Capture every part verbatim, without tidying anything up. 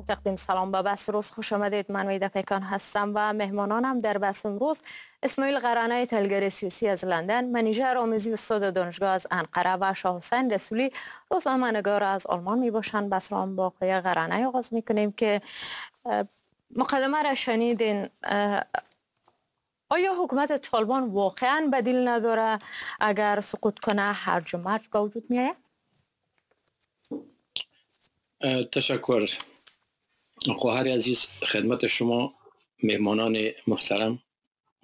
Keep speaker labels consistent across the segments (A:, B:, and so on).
A: تقدیم سلام به بس روز، خوش آمدید. من ویدا پیکان هستم و مهمانانم در بحث امروز اسماعیل قرانه، تحلیلگر سیاسی از لندن، منیژه رامیزی، استاد دانشگاه از انقره و شاه حسین رسولی، روزنامه‌نگار از آلمان می باشند. بحث را با آقای قرانه آغاز می کنیم که مقدمه را شنیدین. آیا حکومت طالبان واقعا بدیل نداره؟ اگر سقوط کنه هرج و مرج به وجود می آید؟
B: تشکر خواهر عزیز. خدمت شما مهمانان محترم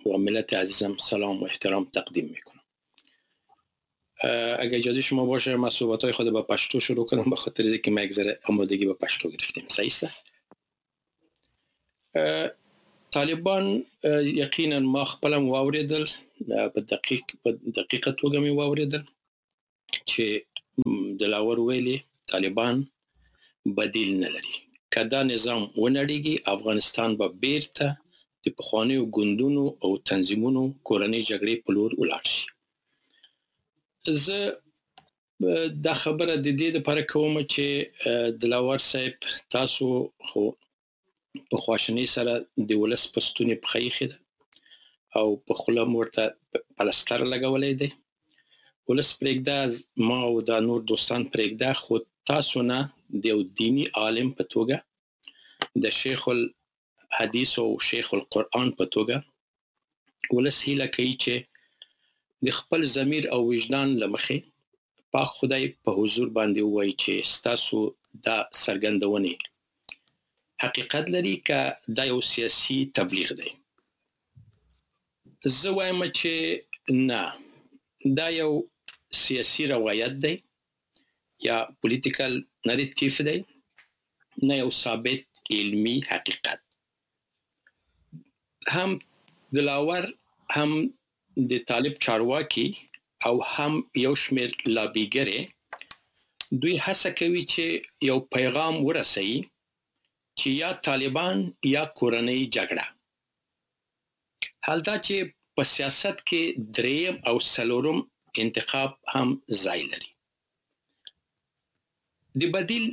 B: و ملت عزیزم سلام و احترام تقدیم میکنم. اگر اجازه شما باشه من صحبت‌های خود با پشتو شروع کنم، به خاطر اینکه ما یک ذره آمادگی با پشتو گرفتیم. صحیح است؟ طالبان یقینا ما خپلم واوریدل، په دقیق په دقیقه توګه مې واوریدل چې دلاور ویلي طالبان بدیل نه لري. که دا نظام ونړیږي افغانستان به بیرته د پخوانیو ګوندونو او تنظیمونو کورنۍ جګړې په لور ولاړ شي. زه دا خبره د دې لپاره کوم چې دلاور صاحب تاسو خو په خواشینۍ سره د ولس په ستوني پښه ایښې ده او په خوله مو ورته پلستر لګولی دی. ولس پرېږده، ما او دا نور دوستان پرېږده، خو تاسو نه د یو دیني عالم په توګه، د شیخ الحدیث او شیخ القرآن په توګه ولس هیله کوي چې د خپل ضمیر او وجدان له مخې پاک خدای په حضور باندې ووایي چې ستاسو دا څرګندونې حقیقت لري که دا یو سیاسي تبلیغ دی. زه وایم چې نه، دا یو سیاسي روایت دی یا political narrative دی، نه یو ثابت علمی حقیقت. هم دلاور، هم د طالب چارواکي او هم یو شمېر لابیګرې دوی هڅه کوي چې یو پیغام ورسوي چې یا طالبان یا کورنۍ جګړه. حال دا چې په سیاست کې دریم او څلورم انتخاب هم ځای لري. د بدیل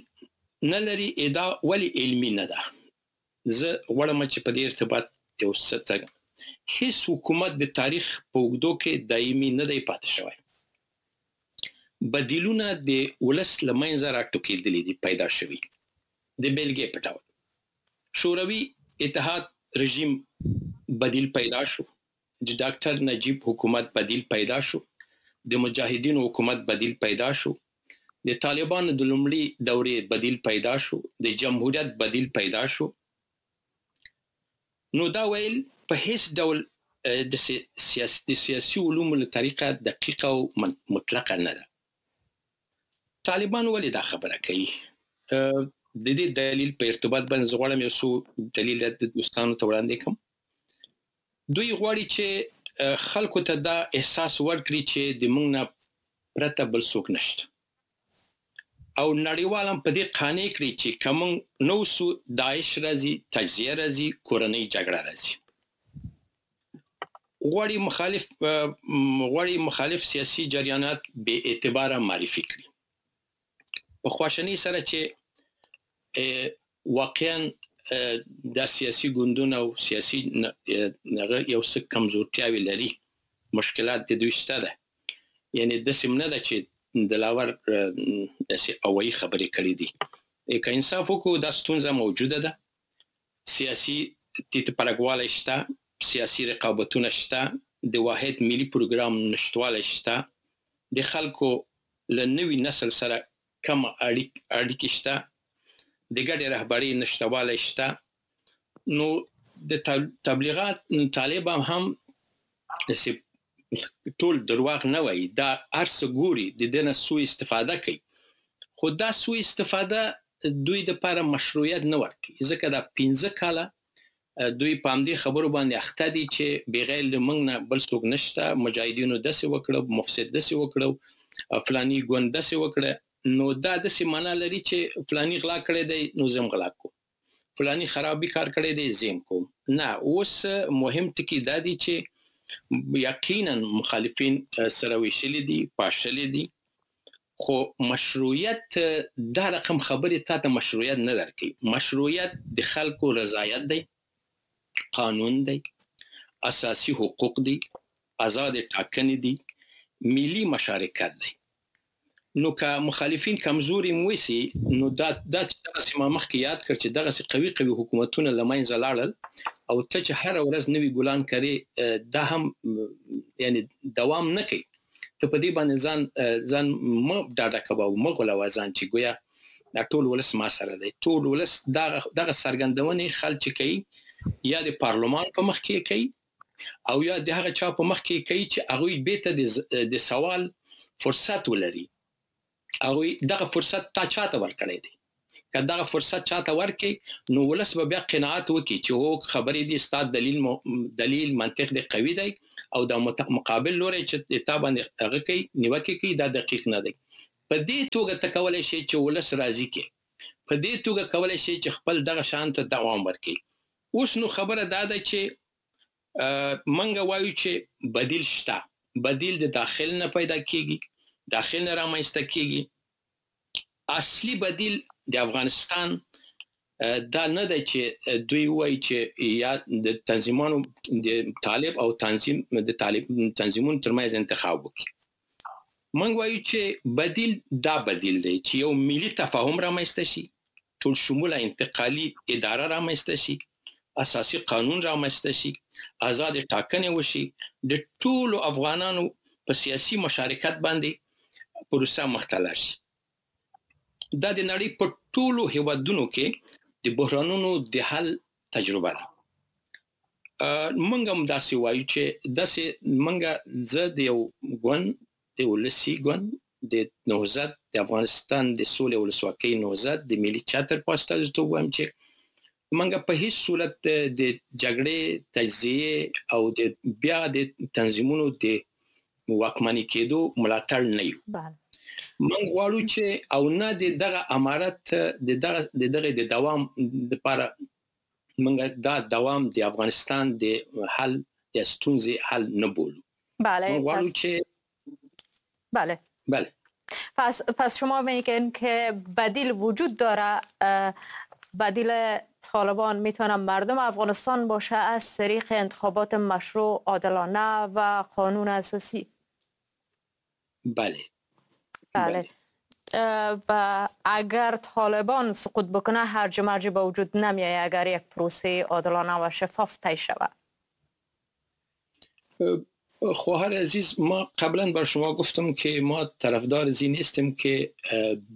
B: نه لري ادعا ولې علمي نه ده؟ زه غواړم چې په دې ارتباط یو څه ته هیڅ حکومت د تاریخ په اوږدو کې دایمي نه دی پاتې شوی. بدیلونه د ولس له منځه راټوکېدلي دي، پیدا شوي. د بېلګې په ډول شوروي اتحاد رژیم بدیل پیدا شو، د ډاکټر نجیب حکومت بدیل پیدا شو، د مجاهدینو حکومت بدیل پیدا شو، د طالبانو د لومړي دورې بدیل پیدا شو، د جمهوریت بدیل پیدا شو. نو دا ویل په هیڅ ډول د سیاسي سیاسي علومو له طریقه دقیقه او مطلقه نه ده. طالبان ولې دا خبره کوي؟ د دې دلیل په ارتباط باندې زه غواړم یو څو دلیل د دوستانو ته وړاندې کړم. دوی غواړي چې خلکو ته دا احساس ورکړي چې د موږ نه پرته بل څوک نشته، او نړیوال هم په دې قانع کړي چې که موږ نه اوسو داعش راځي، تجزیه راځي، کورنۍ جګړه راځي. غواړي مخالف غواړي مخالف سیاسي جریانات بې اعتباره معرفي کړي. په خواشینۍ سره چې واقعا دا سیاسي ګوندونه او سیاسي یو څه کمزورتیاوې لري، مشکلات د دوی شته ده. یعنې داسې هم نه ده چې دلاور داسې هوایي خبرې کړې دي. که انصاف وکړو دا ستونزه موجوده ده، سیاسي تیت پرکوالی شته، سیاسي رقابتونه شته، د واحد ملي پروګرام نشتوالی شته، د خلکو له نوي نسل سره کم اړیکې شته، د ګډې رهبرۍ نشتوالی شته. نو د تبلیغات طالب هم داسې ټول درواغ نه وایي، دا هر څه ګوري، د دې نه سوء استفاده کوي. خو دا سوء استفاده دوی دپاره مشروعیت نه ورکوي، ځکه دا پنځه کاله دوی په همدې خبرو باندې اخته دي چې بغیر له موږ نه بل څوک نشته، مجاهدینو داسې وکړو، مفسد داسې وکړو، فلاني ګوند داسې وکړه. نو دا داسې معنا لري چې فلاني غلا کړی دی نو زه هم غلا کوم، فلاني خرابي کار کړی دی زه هم کوم. نه، اوس مهم ټکی دا دی چې یقینا مخالفین سره ویشلي دي، پاشلي دي، خو مشروعیت دا رقم خبرې تا ته مشروعیت نه درکوي. مشروعیت د خلکو رضایت دی، قانون دی، اساسي حقوق دی، آزاد ټاکنې دي، ملي مشارکت دی. نو که مخالفین کمزوري وسی، نو دا دا چې دغسې ما مخکې یاد کړ چې دغسې قوي قوي حکومتونه له منځه لاړل او ته چې هره ورځ نوي ګلان کرې، دا هم یعنی دوام نه کوي. ته په دې باندې ځان ځان مه ډاډه کوه او مه غولوه ځان چې ګویا دا ټول ولس ما سره دی. ټول ولس دغه دغه څرګندونې خلک چې کوي، یا د پارلمان په مخ کې کوي او یا د هغه چا په مخ کې کوي چې هغوی بیرته د سوال فرصت ولري. هغوی دغه فرصت تا چاته ورکړی دی؟ که دغه فرصت چاته ورکړي، نو ولس به بیا قناعت وکړي چې هو خبرې دي، ستا دلیل دلیل منطق دی قوي دی او د مقابل لوری چې تا باندې هغه کوي نیوکې کوي دا دقیق نه دی. په دې توګه ته کولی شي چې ولس راضي کړي، په دې توګه کولی شي چې خپل دغه شان ته دوام ورکړي. اوس نو خبره دا ده چې منګه وایو چې بدیل شته. بدیل د داخل نه پیدا کیږي، داخل نه رامنځته کیږي. اصلي بدیل د افغانستان دا نه دی چې دوی وایي چې یا د تنظیمانو د طالب او تنظیم د طالب تنظیمونو ترمنځ انتخاب وکړي. موږ وایو چې بدیل دا بدیل دی چې یو ملي تفاهم رامنځته شي، ټول شموله انتقالي اداره رامنځته شي، اساسي قانون رامنځته شي، آزاد ټاکنې وشي، د ټولو افغانانو په سیاسي مشارکت باندې پروسه مخته لاړ شي. دا د نړۍ په ټولو هیوادونو کې د بحرانونو د حل تجربه ده. موږ هم داسې وایو چې داسې موږ زه د یو ګوند، د ولسي ګوند، د نهضت، د افغانستان د سولې ولسواکۍ نهضت، د ملي چتر په استازیتوب وایم چې موږ په هیڅ صورت د جګړې، تجزیې او د بیا د تنظیمونو د واکمني کېدو ملاتړ نه یو. موږ غواړو چې او نه د دغه امارت د دغه د دغه د دوام لپاره موږ دا دوام د افغانستان د حل د ستونزې حل نه بولو.
A: بله،
B: موږ غواړو چې
A: بله
B: بله.
A: پس پس شما میگین که بدیل وجود داره. بدیل طالبان میتونه مردم افغانستان باشه از طریق انتخابات مشروع، عادلانه و قانون اساسی.
B: بله
A: بله. و اگر طالبان سقوط بکنه هرج و مرج به وجود نمیایه اگر یک پروسه عادلانه و شفاف طی شود.
B: خواهر عزیز، ما قبلا بر شما گفتم که ما طرفدار از این نیستیم که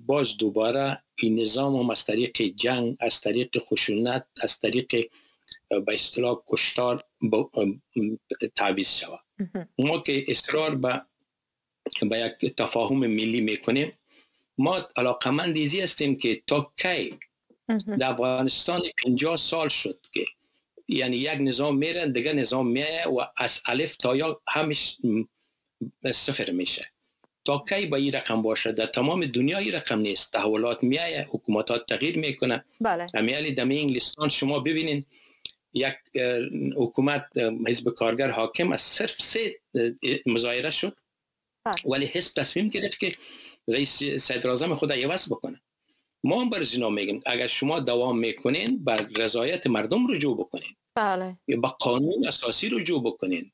B: باز دوباره این نظام هم از طریق جنگ، از طریق خشونت، از طریق به اصطلاح کشتار تعویض شود. ما که اصرار به به یک تفاهم ملی میکنیم، ما علاقمند ایزی هستیم که تا کی در افغانستان پنجاه سال شد که یعنی یک نظام میره دیگه نظام میایه و از الف تا یا همش صفر میشه. تا کی با این رقم باشه؟ در تمام دنیا این رقم نیست. تحولات میایه، حکومتات تغییر میکنه.
A: بله.
B: امیالی دم انگلستان شما ببینین یک حکومت حزب کارگر حاکم از صرف سه مظاهره شد.
A: بله.
B: ولی حزب تصمیم گرفت که رئیس صدر اعظم خود عوض بکنه. ما هم بر اینا میگیم اگر شما دوام میکنین بر رضایت مردم رجوع بکنین.
A: بله.
B: یا با قانون اساسی رجوع بکنین،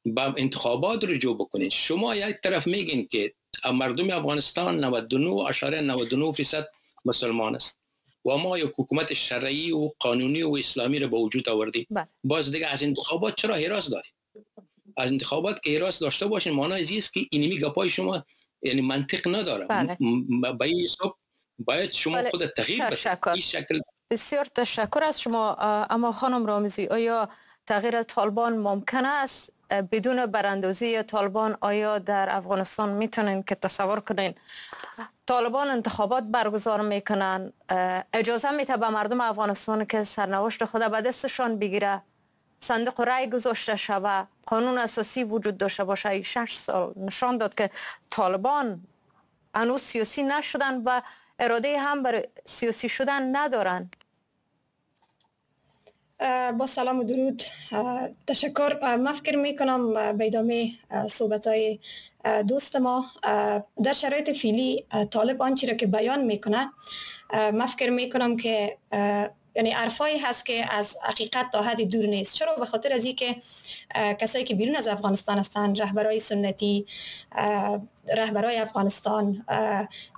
B: با انتخابات رجوع بکنین. شما یک طرف میگین که مردم افغانستان نود و نه اعشاریه نود و نه درصد مسلمان است و ما یک حکومت شرعی و قانونی و اسلامی رو به وجود آوردیم.
A: بله.
B: باز دیگه از انتخابات چرا هراس دارید؟ از انتخابات که هراس داشته باشین معنی از است که اینمی گپای شما یعنی منطق نداره.
A: بله.
B: به این حساب باید شما
A: بله.
B: خود تغییر بدید. این شکل.
A: بسیار تشکر از شما. اما خانم رامزی، آیا تغییر طالبان ممکن است؟ بدون براندازی طالبان آیا در افغانستان میتونین که تصور کنین طالبان انتخابات برگزار میکنن، اجازه میده به مردم افغانستان که سرنوشت خود به دستشان بگیره، صندوق رای گذاشته شوه، قانون اساسی وجود داشته باشه؟ این شش سال نشان داد که طالبان هنوز سیاسی نشدن و اراده هم برای سیاسی شدن ندارن.
C: با سلام و درود، تشکر. من فکر میکنم به ادامه صحبت‌های دوست ما، در شرایط فعلی طالب آنچه را که بیان میکنه، من فکر میکنم که یعنی حرفایی هست که از حقیقت تا حدی دور نیست. چرا؟ به خاطر از اینکه کسایی که بیرون از افغانستان هستند، رهبرای سنتی، رهبرای افغانستان،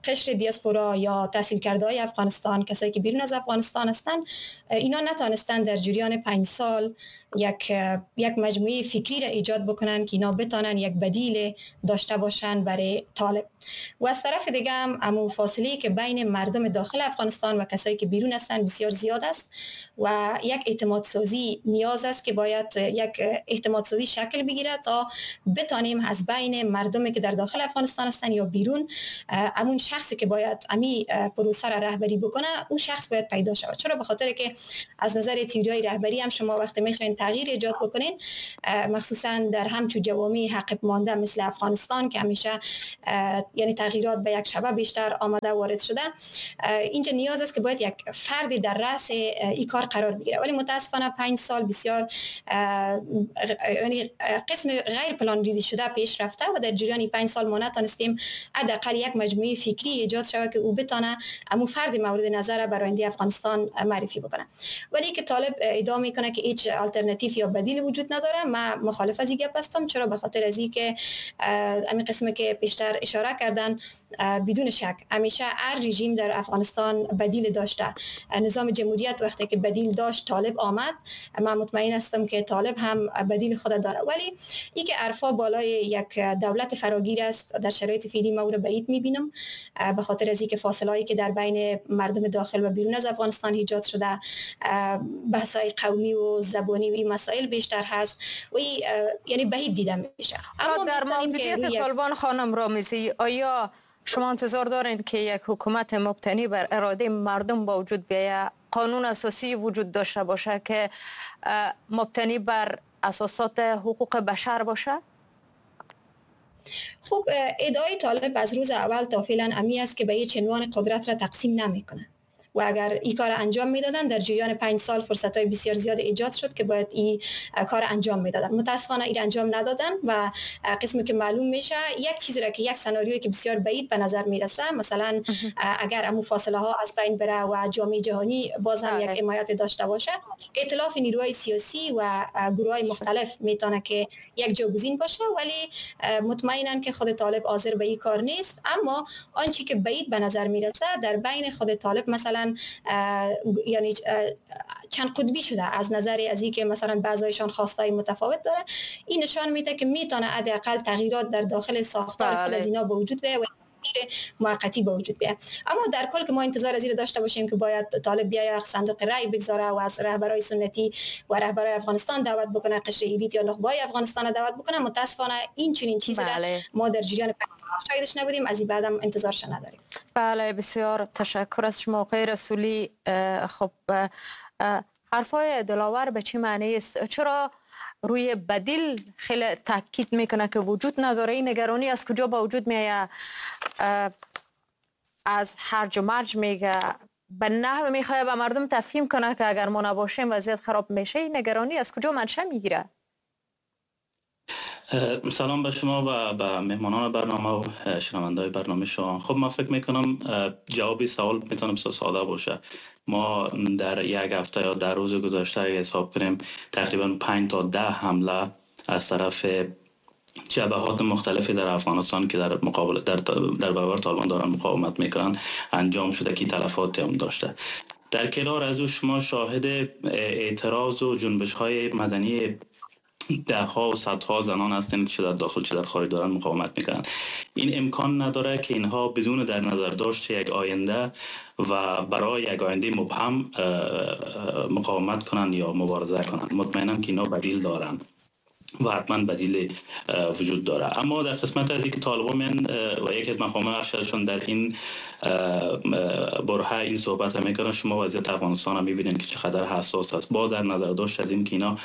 C: قشر دیاسپورا یا تحصیل کرده های افغانستان، کسایی که بیرون از افغانستان هستند، اینا نتانستند در جریان پنج سال یک یک مجموعه فکری را ایجاد بکنن که اینا بتانن یک بدیل داشته باشن برای طالب. و از طرف دیگه هم امو فاصله که بین مردم داخل افغانستان و کسایی که بیرون هستند بسیار زیاد است و یک اعتماد سازی نیاز است که باید یک اعتماد سازی شکل بگیره تا بتانیم از بین مردمی که در داخل افغانستان هستن یا بیرون، امون شخصی که باید امی پروسه را رهبری بکنه، اون شخص باید پیدا شود. چرا؟ به خاطر که از نظر تئوریای رهبری هم شما وقتی میخواین تغییر ایجاد بکنین، مخصوصا در همچو جوامع عقب مانده مثل افغانستان که همیشه یعنی تغییرات به یک شبه بیشتر آمده وارد شده، اینجا نیاز است که باید یک فردی در رأس این کار قرار بگیره. ولی متاسفانه پنج سال بسیار یعنی قسم غیر پلان ریزی شده پیش رفته و در جریان پنج سال ما نتونستیم حداقل یک مجموعه فکری ایجاد شود که او بتانه امو فرد مورد نظر برای آینده افغانستان معرفی بکنه. ولی که طالب ادعا میکنه که هیچ آلترناتیو یا بدیل وجود نداره، من مخالف از این گپ هستم. چرا؟ به خاطر از اینکه همین قسمی که پیشتر اشاره کردن، بدون شک همیشه هر رژیم در افغانستان بدیل داشته. نظام جمهوریت وقتی که بدیل داشت طالب آمد، من مطمئن هستم که طالب هم بدیل خود داره. ولی اینکه عرفا بالای یک دولت فراگیر است در شرایط فعلی ما او را بعید میبینم، به خاطر از اینکه فاصله‌ای که در بین مردم داخل و بیرون از افغانستان ایجاد شده، بحث‌های قومی و زبانی و این مسائل بیشتر هست و یعنی بعید دیده میشه.
A: اما در موجودیت طالبان خانم رامیزی، آیا شما انتظار دارین که یک حکومت مبتنی بر اراده مردم با وجود بیاید، قانون اساسی وجود داشته باشه که مبتنی بر اساسات حقوق بشر باشه؟
C: خب ادعای طالب از روز اول تا فعلا امی است که به هیچ عنوان قدرت را تقسیم نمیکنه و اگر این کار انجام میدادن در جریان پنج سال فرصت‌های بسیار زیاد ایجاد شد که باید این کار انجام میدادن. متاسفانه این انجام ندادن و قسمی که معلوم میشه یک چیزی را که یک سناریویی که بسیار بعید به نظر میرسه، مثلا اگر امو فاصله ها از بین بره و جامعه جهانی باز هم یک حمایت داشته باشه، ائتلاف نیروهای سیاسی و گروه‌های مختلف میتونه که یک جاگزین باشه، ولی مطمئنا که خود طالب حاضر به این کار نیست. اما آنچه که بعید به نظر میرسه در بین خود طالب مثلا یعنی چند قطبی شده از نظر از اینکه مثلا بعضایشان خواستای متفاوت داره، این نشان میده که میتونه حداقل تغییرات در داخل ساختار خود از اینا به وجود بیاید و موقتی به وجود بیاید. اما در کل که ما انتظار از این داشته باشیم که باید طالب بیاید صندوق رای بگذاره و از رهبرای سنتی و رهبرای افغانستان دعوت بکنه، قشر elite یا نخبه‌های افغانستان دعوت بکنه، متاسفانه این چنین چیزی را ما در جریان شاهدش نبودیم، از این بعدم انتظارش نداریم.
A: بله، بسیار تشکر از شما آقای رسولی. خب حرفای دلاور به چه معنی است؟ چرا روی بدیل خیلی تاکید میکنه که وجود نداره؟ این نگرانی از کجا با وجود میآید؟ از هرج و مرج میگه، به نحو میخواد به مردم تفهیم کنه که اگر ما نباشیم وضعیت خراب میشه. این نگرانی از کجا منشأ میگیره؟
D: سلام به شما و به مهمانان برنامه و شنونده‌های برنامه شما. خب من فکر میکنم جواب سوال میتونم ساده باشه. ما در یک هفته یا در روز گذشته اگه حساب کنیم تقریبا پنج تا ده حمله از طرف جبهات مختلفی در افغانستان که در مقابل در در برابر طالبان دارن مقاومت میکنن انجام شده که تلفات هم داشته. در کنار از او شما شاهد اعتراض و جنبش های مدنی ده ها و صدها زنان هستند که چه در داخل چه در خارج دارن مقاومت میکنن. این امکان نداره که اینها بدون در نظر داشت یک آینده و برای یک آینده مبهم مقاومت کنن یا مبارزه کنن. مطمئنم که اینا بدیل دارن و حتما بدیل وجود داره. اما در قسمت از اینکه طالبان من و یکی از مقامات ارشدشون در این برهه این صحبت هم میکنن، شما وضعیت افغانستان هم میبینید که چقدر حساس است. با در نظر داشت از این که اینا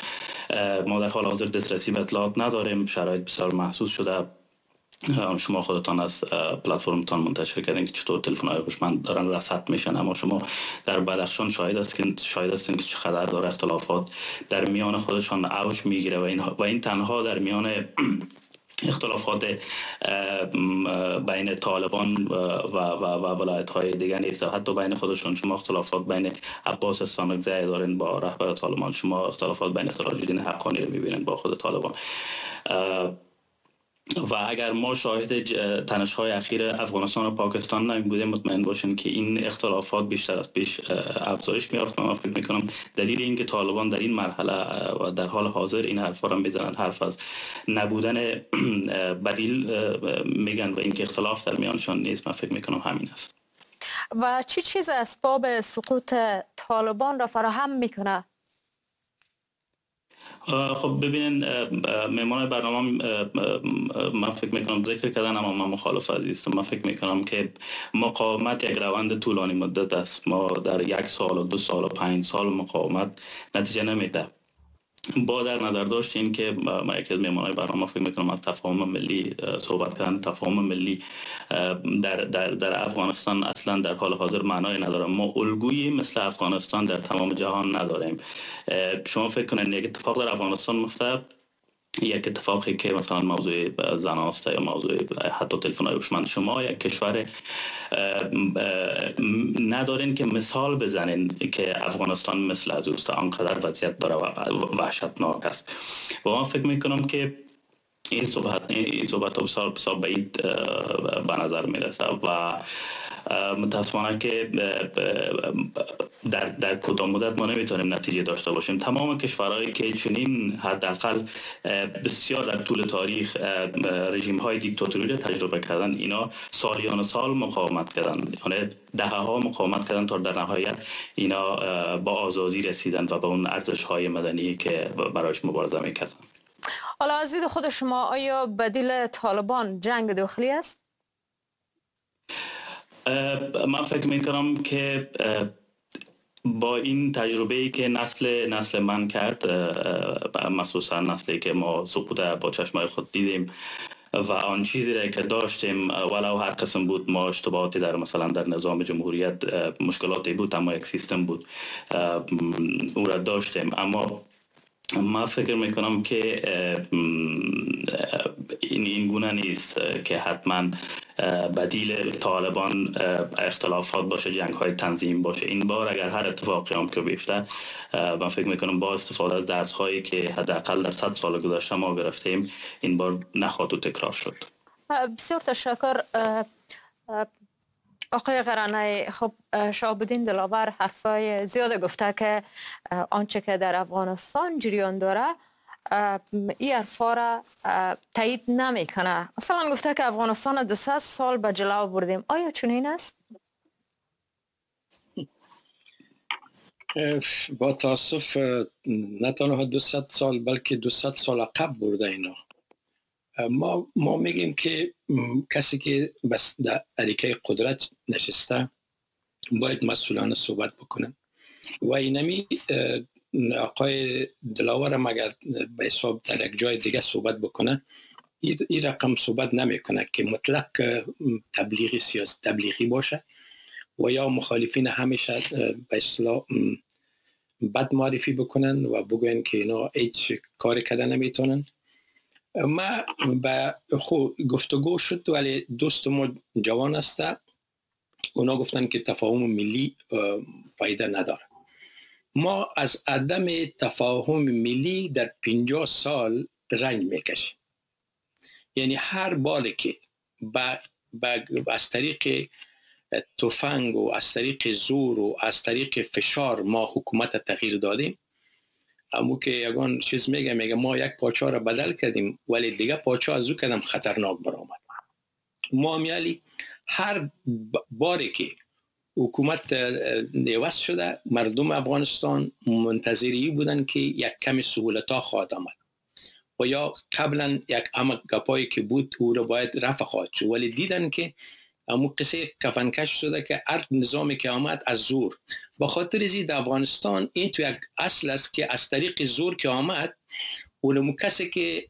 D: ما در حال حاضر دسترسی به اطلاعات نداریم، شرایط بسیار محسوس شده. شما خودتان از پلتفرمتان منتشر کردین که چطور تلفن‌های هوشمند دارن رصد میشن، اما شما در بدخشان شاهد هستین شاهد هستین که چقدر داره اختلافات در میان خودشان اوج میگیره و این و این تنها در میان اختلافات بین طالبان و و و ولایت های دیگه نیست، حتی بین خودشون. شما اختلافات بین عباس استانکزی دارین با رهبر طالبان، شما اختلافات بین سراج الدین حقانی رو میبینین با خود طالبان. و اگر ما شاهد تنش‌های اخیر افغانستان و پاکستان نمی بودیم، مطمئن باشین که این اختلافات بیشتر از پیش افزایش می‌یافت. من فکر می‌کنم دلیل اینکه طالبان در این مرحله و در حال حاضر این حرفا را می‌زنن، حرف از نبودن بدیل میگن و اینکه اختلاف در میانشان نیست، من فکر می‌کنم همین است.
A: و چی چیز اسباب سقوط طالبان را فراهم می‌کنه؟
D: خب ببینین، مهمان برنامه من فکر میکنم ذکر کردن، اما من مخالف عزیزم. من فکر میکنم که مقاومت یک روند طولانی مدت است. ما در یک سال و دو سال و پنج سال مقاومت نتیجه نمیده. با در نظر داشت این که ما یکی از مهمانای برنامه فکر میکنم از تفاهم ملی صحبت کردن، تفاهم ملی در در در افغانستان اصلا در حال حاضر معنای نداره. ما الگویی مثل افغانستان در تمام جهان نداریم. شما فکر کنید یک اتفاق در افغانستان مفته، یک اتفاقی که مثلا موضوع زن است یا موضوع حتی تلفن های هوشمند، شما یک کشور ندارین که مثال بزنین که افغانستان مثل از اوست، آنقدر وضعیت داره و وحشتناک است. و من فکر میکنم که این صحبت این صحبت بسیار بسیار بعید به نظر میرسه و متاسفانه که در در کدام مدت ما نمیتونیم نتیجه داشته باشیم. تمام کشورهایی که چنین حداقل بسیار در طول تاریخ رژیم های دیکتاتوری را تجربه کردن، اینا سالیان سال مقاومت کردن، یعنی دهه ها مقاومت کردن تا در نهایت اینا با آزادی رسیدن و به اون ارزش های مدنی که برایش مبارزه میکردن.
A: حالا از دید خود شما آیا بدیل طالبان جنگ داخلی است؟
D: من فکر میکنم که با این تجربه‌ای که نسل نسل من کرد، مخصوصا نسلی که ما سقوط با چشمای خود دیدیم و آن چیزی را که داشتیم ولو هر قسم بود، ما اشتباهاتی در مثلا در نظام جمهوریت مشکلاتی بود، اما یک سیستم بود او را داشتیم. اما ما فکر میکنم که این این گونه نیست که حتما بدیل طالبان اختلافات باشه، جنگ های تنظیم باشه. این بار اگر هر اتفاقی هم که بیفته، من فکر میکنم با استفاده از درس هایی که حداقل در صد سال گذشته ما گرفتیم، این بار نخواهد و تکرار شد.
A: بسیار تشکر آقای قرانه. خب شهاب الدین دلاور حرفای زیاد گفته که آنچه که در افغانستان جریان داره این حرفا را تایید نمیکنه. اصلا گفته که افغانستان دو سه سال به جلو بردیم. آیا چنین است؟
B: با تاسف نه تنها دو صد سال بلکه دو صد سال عقب برده اینا. ما ما میگیم که کسی که بس در اریکه قدرت نشسته باید مسئولانه صحبت بکنه و اینمی آقای دلاور مگر به حساب در یک جای دیگه صحبت بکنه این رقم صحبت نمیکنه که مطلق تبلیغی سیاسی تبلیغی باشه و یا مخالفین همیشه به اصطلاح بد معرفی بکنن و بگوین که اینا هیچ کاری کردن نمیتونن. ما به خو گفتگو شد ولی دوست ما جوان است، اونا گفتن که تفاهم ملی فایده نداره. ما از عدم تفاهم ملی در پنجاه سال رنج میکشیم. یعنی هر بار که با با از طریق تفنگ و از طریق زور و از طریق فشار ما حکومت تغییر دادیم، امو که یگان چیز میگه میگه ما یک پاچا را بدل کردیم ولی دیگه پاچا از او کدم خطرناک برآمد. ما میالی هر باری که حکومت عوض شده مردم افغانستان منتظری بودن که یک کم سهولت ها خواهد آمد و یا قبلا یک اما گپایی که بود او را باید رفع خواهد شد، ولی دیدن که امو قصه کفنکش شده که هر نظامی که آمد از زور. با خاطر زی در افغانستان این تو یک اصل است که از طریق زور که آمد اونمو کسی که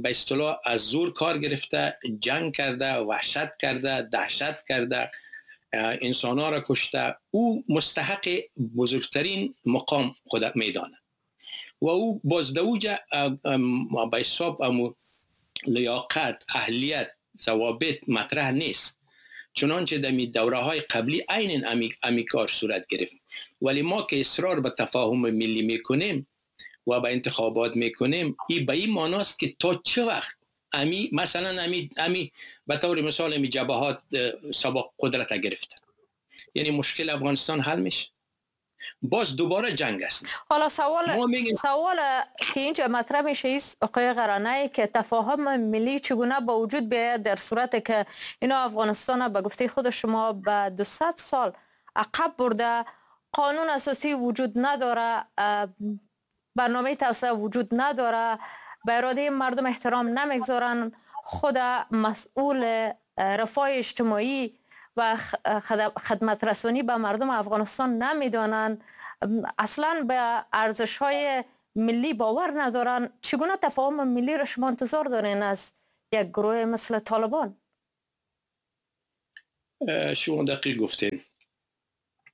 B: به اصطلاح از زور کار گرفته، جنگ کرده، وحشت کرده، دهشت کرده، انسان ها را کشته، او مستحق بزرگترین مقام خود میدانه و او باز دوجه به حساب امو لیاقت، اهلیت، ضوابط مطرح نیست. چنانچه در دوره های قبلی عین امی, امی کار صورت گرفت. ولی ما که اصرار به تفاهم ملی میکنیم و به انتخابات میکنیم، این به این معناست که تا چه وقت امی مثلا امی امی به طور مثال امی جبهات سابق قدرت گرفتن، یعنی مشکل افغانستان حل میشه، باز دوباره جنگ است.
A: حالا سوال سوال که اینجا مطرح میشه است آقای قرانه که تفاهم ملی چگونه با وجود بیاید در صورت که اینا افغانستان به گفته خود شما به دویست سال عقب برده، قانون اساسی وجود نداره، برنامه توسعه وجود نداره، به اراده مردم احترام نمیگذارن، خود مسئول رفاه اجتماعی و خدمت رسانی به مردم افغانستان نمیدانند، اصلا به ارزش های ملی باور ندارن. چگونه تفاهم ملی را شما انتظار دارین از یک گروه مثل طالبان؟
B: شما دقیق گفتین.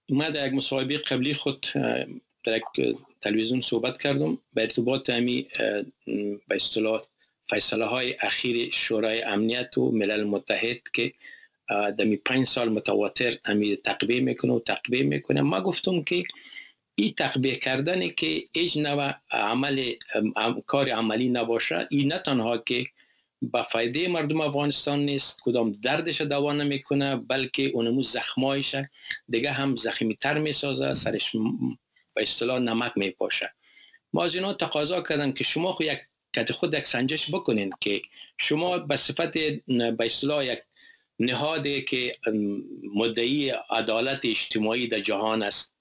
B: من در یک مصاحبه قبلی خود در یک تلویزیون صحبت کردم به ارتباط همی به اصطلاح فیصله های اخیر شورای امنیت و ملل متحد که دمی پنج سال متواتر امی تقبیه میکنه و تقبیه میکنه. ما گفتم که این تقبیه کردن که هیچ نوع عمل کار عملی نباشه، این نه تنها که به فایده مردم افغانستان نیست، کدام دردش دوا نمیکنه، بلکه اونمو زخمایش دیگه هم زخمی تر میسازه، سرش به اصطلاح نمک میپاشه. ما از اینا تقاضا کردن که شما خو یک کت خود یک سنجش بکنین که شما به صفت به اصطلاح یک نهادی که مدعی عدالت اجتماعی در جهان است،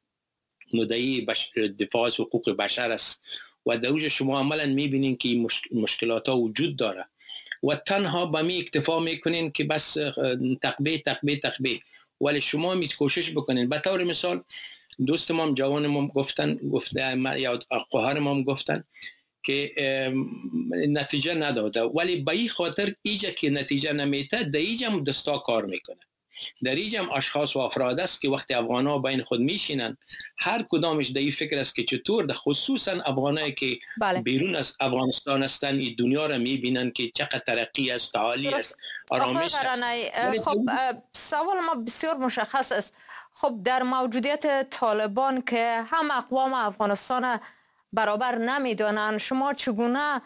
B: مدعی بش... دفاع از حقوق بشر است و در اوج شما عملا میبینین که این مشکلات ها وجود داره و تنها به می اکتفا میکنین که بس تقبیه تقبیه تقبیه، ولی شما می کوشش بکنین. به طور مثال دوست ما جوان ما گفتن، گفته یا خواهر ما گفتن که نتیجه نداده، ولی به این خاطر ایجا که نتیجه نمیته در ایجا هم دستا کار میکنه، در ایجا هم اشخاص و افراد است که وقتی افغان ها بین خود میشینن هر کدامش در این فکر است که چطور، خصوصا افغانایی که بله. بیرون از افغانستان هستن این دنیا را میبینن که چقدر ترقی است، تعالی است، آرامش است.
A: خب سوال ما بسیار مشخص است. خب در موجودیت طالبان که هم اقوام افغانستان برابر نمیدانند، شما چگونه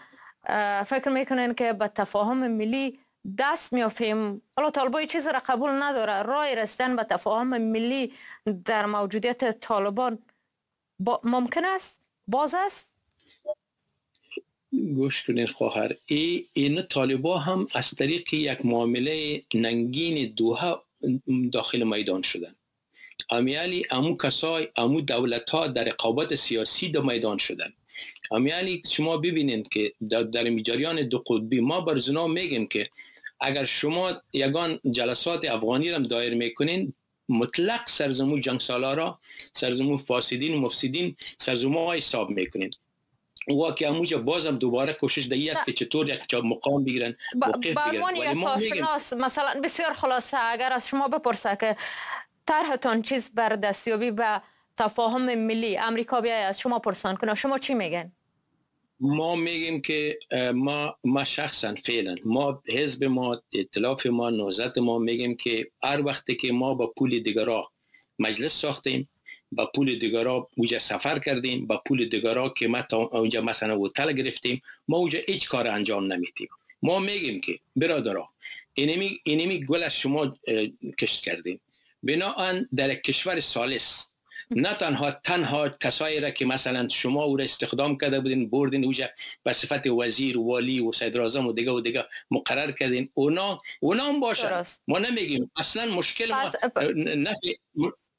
A: فکر میکنین که به تفاهم ملی دست میافیم؟ حالا طالبان چیز را قبول نداره، راه رسیدن به تفاهم ملی در موجودیت طالبان با ممکن است؟ باز است؟
B: گوش کنین خواهر، ای این طالبان هم از طریق یک معامله ننگین دوحه داخل میدان شدن. امیالی امو کسای امو دولت ها در رقابت سیاسی در میدان شدن. امیالی شما ببینید که در, در جریان دو قطبی ما بر زنا میگیم که اگر شما یگان جلسات افغانی را دایر میکنین، مطلق سرزمو جنگ سالارا، سرزمو فاسدین و مفسدین، سرزمو حساب میکنین. و که اموجا بازم دوباره کوشش دهی است که چطور یک مقام بگیرن، موقف بگیرن.
A: ولی ما میگیم مثلا بسیار خلاصه اگر از شما بپرسه که طرحتان چیز بر دستیابی به تفاهم ملی امریکا بیای از شما پرسان کنه، شما چی میگن؟
B: ما میگیم که ما ما شخصا فعلا ما حزب ما، ائتلاف ما، نهضت ما میگیم که هر وقتی که ما با پول دیگرا مجلس ساختیم، با پول دیگرا اونجا سفر کردیم، با پول دیگرا که ما تا اونجا مثلا هتل گرفتیم، ما اونجا هیچ کار انجام نمیدیم. ما میگیم که برادرا اینمی اینمی گل از شما کشت کردیم، بناهن در کشور ثالث نه تنها تنها کسایی را که مثلا شما او را استخدام کرده بودین بردین اونجا به صفت وزیر و والی و صدر اعظم و دیگه و دیگه مقرر کردین، اونا اونا هم باشن. ما نمیگیم اصلا مشکل ما نفی.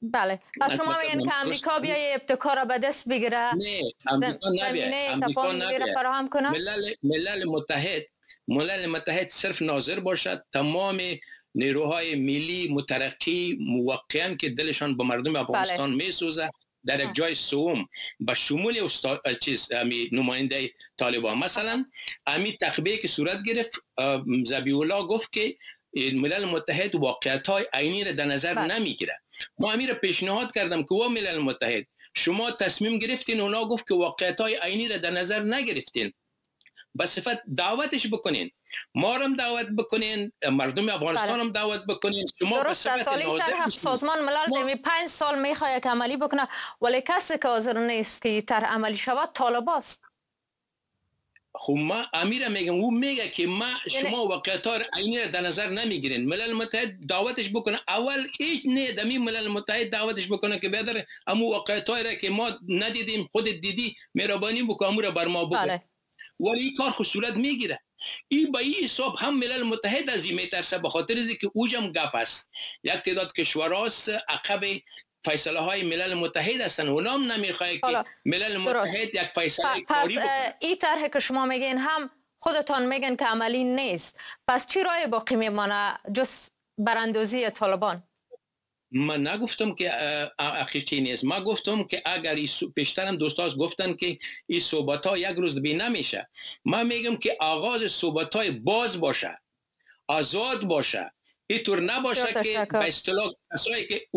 A: بله پس شما میگین که امریکا بیای ابتکار را به دست بگیره؟
B: نه امریکا نبیه، امریکا نبیه.
A: فراهم کنه
B: ملل ملل متحد ملل متحد صرف ناظر باشد، تمام نیروهای ملی مترقی موقعاً که دلشان به مردم افغانستان بله. میسوزه در یک جای سوم به شمول استاد چیز امی نماینده طالبان مثلا امی تقبیه که صورت گرفت، ذبیح الله گفت که ملل متحد واقعیت های عینی را در نظر بله. نمیگیره. ما امی را پیشنهاد کردم که و ملل متحد شما تصمیم گرفتین، اونا گفت که واقعیت های عینی را در نظر نگرفتین. به صفت دعوتش بکنین، ما هم دعوت بکنین، مردم افغانستان هم دعوت بکنین.
A: شما به صفت ناظر سازمان ملل دمی پنج سال میخواد که عملی بکنه، ولی کسی که حاضر نیست که طرح عملی شود طالب است.
B: خب ما امیر میگم، او میگه که ما شما واقعیت ها عینی در نظر نمیگیرین. ملل متحد دعوتش بکنه اول، هیچ نه دمی ملل متحد دعوتش بکنه که بیادر امو واقعیت را که ما ندیدیم خودت دیدی، مهربانی بکن امو را بر ما بکن. بله. ولی این کار خود صورت میگیره. این با این حساب هم ملل متحد از این میترسه، به خاطر از که اوجم گپ است. یک تعداد کشوراست عقب فیصله های ملل متحد هستن، اونام نمیخواد که ملل متحد یک فیصله کاری بکنه.
A: این طرح که شما میگین هم خودتان میگن که عملی نیست، پس چی راه باقی میمانه جز براندازی طالبان؟
B: من نگفتم که حقیقی نیست، من گفتم که اگر پیشترم دوستاز گفتن که این صحبت ها یک روز بی نمیشه، من میگم که آغاز صحبت های باز باشه، آزاد باشه، اینطور نباشه که به اصطلاح کسایی که